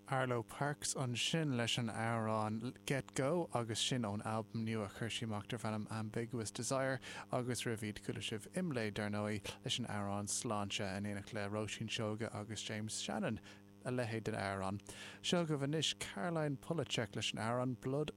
Arlo Parks ansin leis an amhrán Get Go agus sin ón albam nua a chuir sí amach darb ainm Ambiguous Desire agus roimh iad chuala sibh Imlé dar ndóigh leis an amhrán Sláinte in éineacht le Róisín Seoige agus James Shannon, a leithéid den amhrán. Seo agaibh anois Caroline Polachek leis an amhrán Blood.